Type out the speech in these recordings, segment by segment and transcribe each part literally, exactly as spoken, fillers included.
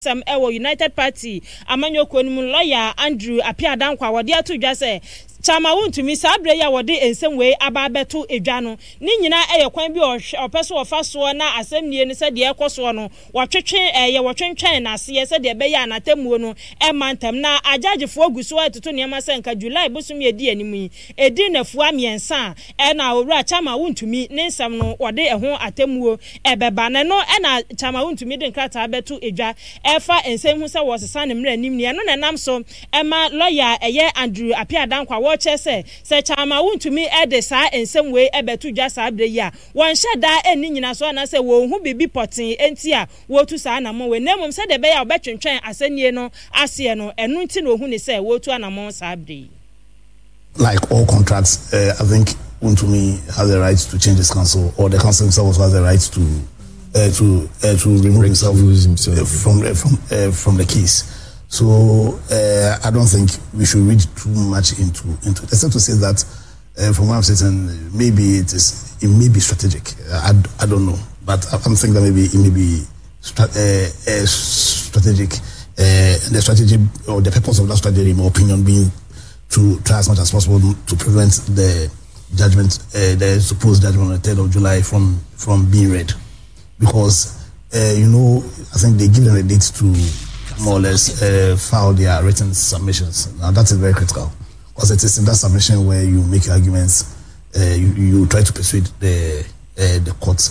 Sɛm ɛwɔ United Party amanyɔkuo no mu, lɔya Andrew Appiah Danquah a wɔde ato dwa sɛ Chairman Wontumi, saa berɛ yi a wɔde nsɛm wei aba abɛto dwa no, ne nyinaa ɛyɛ kwan bi a ɔpɛ so wɔfa soɔ na asɛmnie no, sɛdeɛ ɛkɔ soɔ no, wɔtwetwe ɛyɛ wɔtwentwɛn n'aseɛ sɛdeɛ ɛbɛyɛ a n'atemmuo no ɛma ntɛm. Na agyagyefoɔ gu so ɛtoto nneɛma sɛ nka July bosom yɛ di anim yi, ɛdi nnafua mmiɛnsa a ɛna Owura Chairman Wontumi ne nsɛm no wɔde ɛho atemmuo ɛbɛba. Na ɛno ɛna Chairman Wontumi de nkrataa bɛto dwa ɛfa nsɛm ho sɛ wɔsesa ne mmerɛ anim ni. Ɛno na ɛnam so ɛma lɔya ɛyɛ Andrew Appiah Danquah wɔkyerɛ sɛ sɛ Chairman Wontumi ɛde saa nsɛm wei ɛbɛto dwa saa berɛ yi a, wɔnhyɛ daa ɛnni nyina so anaasɛ wɔn ho biribi pɔtee nti a wɔretu saa anammɔn wei, na mmom sɛdeɛ ɛbɛyɛ a wɔbɛtwentwɛn asɛnnie no aseɛ no, ɛno nti na ohun ne sɛ wɔretu anammɔn saa berɛ yi. Like all contracts, uh, I think Wontumi has the right to change his counsel, or the counsel himself also has the right to uh, to uh, to remove himself, himself. Uh, from uh, from uh, from the case. So uh, I don't think we should read too much into into it, except to say that uh, from where I'm sitting, maybe it is it may be strategic. I, I don't know, but I'm thinking that maybe it may be stra- uh, uh, strategic. Uh, and the strategy or the purpose of that strategy, in my opinion, being to try as much as possible to prevent the judgment, uh, the supposed judgment on the third of July from from being read, because uh, you know I think they give them a date to more or less uh, file their written submissions. Now that is very critical because it is in that submission where you make your arguments, uh, you, you try to persuade the uh, the court.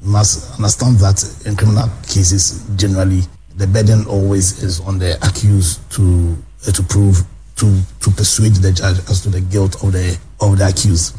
You must understand that in criminal cases, generally, the burden always is on the accused to uh, to prove to to persuade the judge as to the guilt of the of the accused.